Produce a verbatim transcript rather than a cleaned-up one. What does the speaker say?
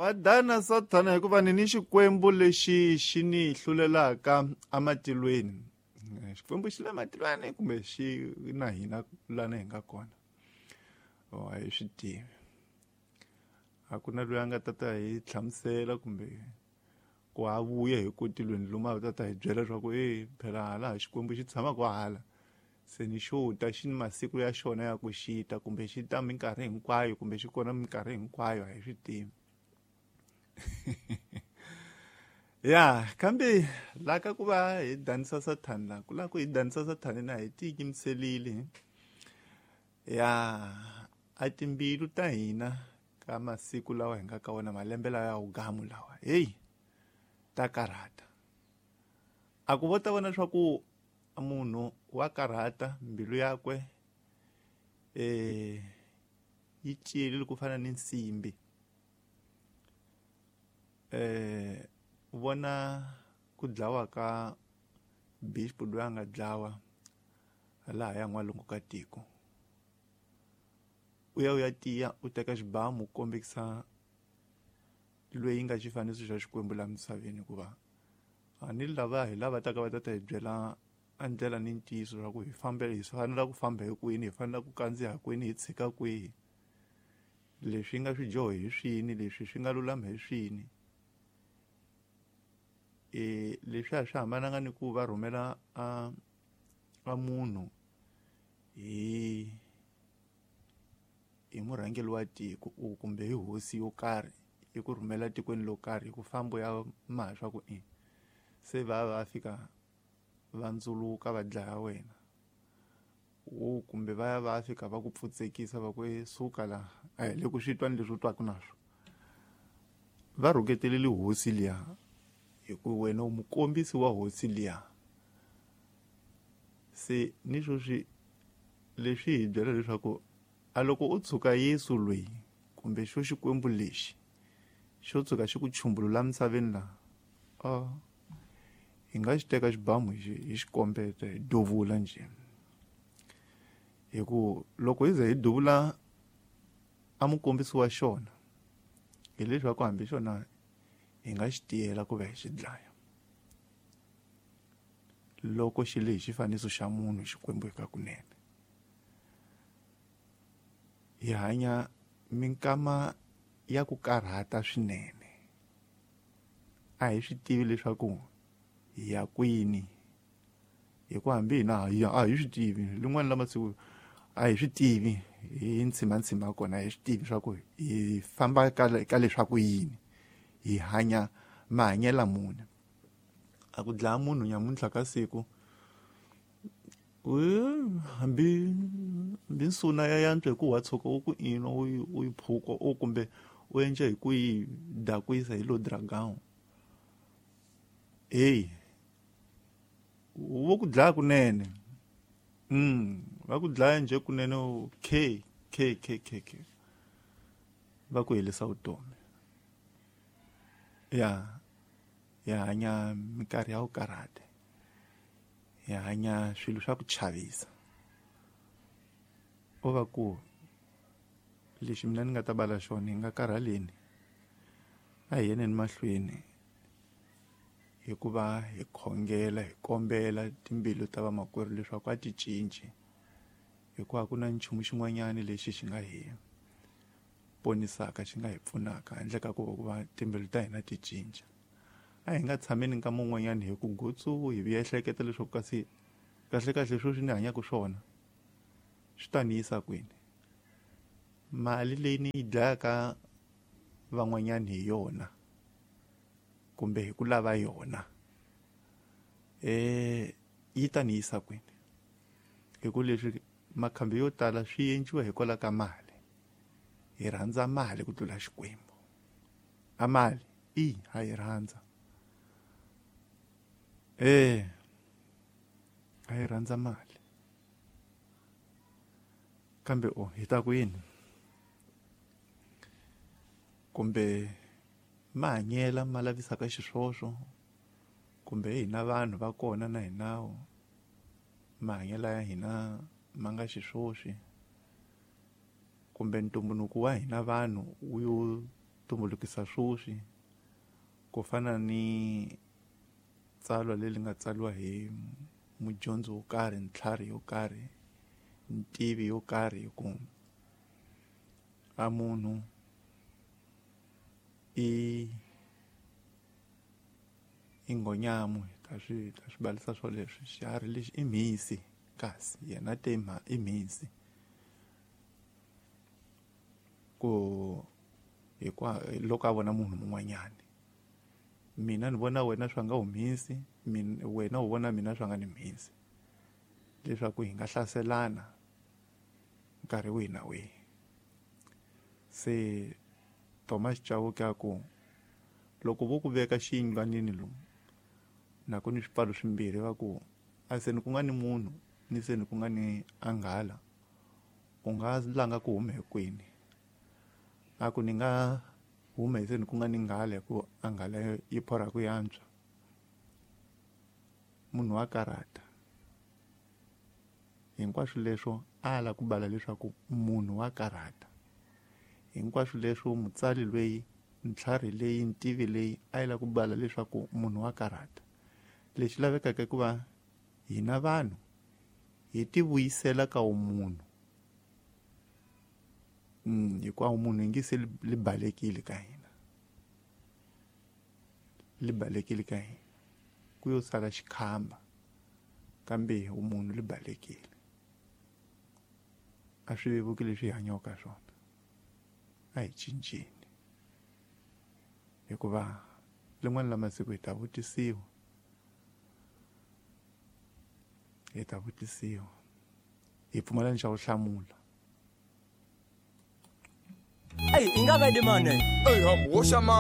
Wa dana Sathana hikuva ni ni xikwembu lexi xi ni hlulelaka amatilweni. Xikwembu xi le matilweni kumbe xi na hina lana hi nga kona. Oh, a hi swi tivi. A ku na loyi a nga ta ta hi hlamusela kumbe ku a vuya hi ku tilweni lomu a ta ta hi byela leswaku e phela hala xikwembu xi tshamaka hala. Se ni xo ta xi ni masiku ya xona ya ku xi ta kumbe xi ta minkarhi hinkwayo kumbe xi kona minkarhi hinkwayo, a hi swi tivi. Ya, kambe la ka ku va hi danisa Sathana la ku la ku hi danisa Sathana na hi tiyimiserile. Ya, a timbilu ta hina ka masiku lawa hi nga ka wona, malembe lawa ya wugamu lawa, hey, ta karhata. A ku vo ta vona leswaku munhu wa karhata, mbilu yakwe eh yi tiyile ku fana ni nsimbi. Eh vona ku dlawa ka bishop loyi a nga dlawa laha ya n'walungu ka tiko. U ya u ya tiya u teka xibamu u kombekisa loyi nga xifaniso xa Xikwembu laha misaveni, hikuva a ni lava hi lava taka va ta ta hi byela a ndlela ni ntiyiso swa ku hi fambe, hi fanela ku famba hi kwini, hi fanela ku kandziya kwini, hi tshika kwihi, leswi nga swidyoho hi swini, leswi swi nga lulama hi swini. E leswi a swi hambananga ni ku va rhumela a a munhu hi hi murhangeri wa tiko kumbe hi hosi yo karhi yi ku rhumela tikweni lo karhi, ku famba ya maha swa ku i se va va fika va ndzuluka va dlaya wena, o kumbe va ya va fika va ku pfutsekisa va ku e suka la, a hi le ku swi twa ni leswi u twaka naswo. Va rhuketelele hosi liya hi ku wena u mukombisi wa hosi liya. Se ni sweswi leswi hi byela leswaku a loko u tshuka Yesu loyi kumbe xo Xikwembu lexi xo tshuka xi ku chumbulula misaveni laha, a hi nga xi teka xibamu hi xi hi xi kombeta hi duvula njhe. Hi ku loko hi ze hi duvula a mukombisi wa xona, hileswaku hambi xona hi nga xi tiyela ku va hi xi dlaya. Loko xi le hi xifaniso xa munhu Xikwembu eka kunene. Hi hanya minkama ya ku karhata swinene. A hi swi tivi leswaku hi ya kwini, hikuva hambi hina a hi swi tivi lin'wana la masiku a hi swi tivi hi ntshimantsima kona, a hi swi tivi swa ku hi famba ka ka leswaku yini, hi hanya mahanyelo muni. A ku dlaya munhu nyamuntlha ka siku, hambi hambi nsuna ya yantswa hi ku wa tshuka u ku ino u yi u yi phuka o kumbe u endla hi ku yi dakwisa hi lo dragon, hey, vo ku dlaya kunene. Mm, va ku dlaya nje kunene k k k k k va ku helisa vutomi. Ya, ya hanya minkarhi ya ku karhata, hi hanya swilo swa ku chavisa. O va ku lexi mina ni nga ta bala xona hi nga karhaleni, a hi yeneni mahlweni hikuva hi khongela, hi kombela timbilu ta vamakwerhu leswaku a ti cinci, hikuva ku na nchumu xin'wanyana lexi xi nga hi ponisaka, xi nga hi pfunaka handle ka ku va timbilu ta hina ti cinca. A hi nga tshameni nkama wun'wanyana hi ku gutsu hi vuya ehleketa leswaku kasi kahle kahle sweswi ni hanyaka swona swi ta ni yisa kwini. Mali leyi ni yi dlayaka van'wanyana hi yona kumbe hi ku lava yona, eh yi ta ni yisa kwini? Hi ku leswi makhambi yo tala swi endliwa hikwalaho ka mali. Hi rhandza mali ku tlula Xikwembu. A mali i ha yi rhandza. Eh a yi rhandza mali. Kambe o hi ta ku yini? Kumbe mahanyela ma lavisaka xiswoswo, kumbe hina vanhu va kona na hina mahanyela ya hina ma nga xiswoswi, kumbe ntumbuluko wa hina vanhu wu yo tumbulukisa swoswi ku fana ni tsalwa leri nga tsariwa hi mudyondzi wo karhi, ntlhari yo karhi, ntivi yo karhi, ku a munhu i i nghonyamu, ta swi ta swi balisa swoleswo, xiharhi lexi i mhisi, kasi yena te i mhisi ku hikuva loko a vona munhu mun'wanyana, mina ni vona wena swa nga u mhisi, mina wena u vona mina swa nga ni mhisi, leswaku hi nga hlaselana nkarhi wihi na wihi. Se Thomas Chauke a ku loko vo ku veka xiyindlwanini lomu na ku ni swipfalo swimbirhi, va ku a se ni ku nga ni munhu ni se ni ku nga ni anghala, u nga langa ku huma hi kwini? A ku ni nga huma hi se ni ku nga ni nghala, hikuva anghala yi phorha ku yantswa. Munhu wa karhata. Hinkwaswo leswo a la ku bala leswaku munhu wa karhata. Hinkwaswo leswo mutsari loyi, ntlhari leyi, ntivi leyi a yi la ku bala leswaku munhu wa karhata. Lexi lavekaka i ku va hina vanhu hi ti vuyisela ka wumunhu. Mm, hikuva munhu hi nge se li balekile ka hina, li balekile ka hina, ku yo sala xikhamba, kambe wumunhu li balekile. A swi vevuki leswi hi hanyaka ka swona, a hi cinceni, hikuva rin'wana la masiku hi ta vutisiwa, hi ta vutisiwa, hi pfumala ni xa ku hlamula. Ey, i nga va dimane. Ey, ham, wo xama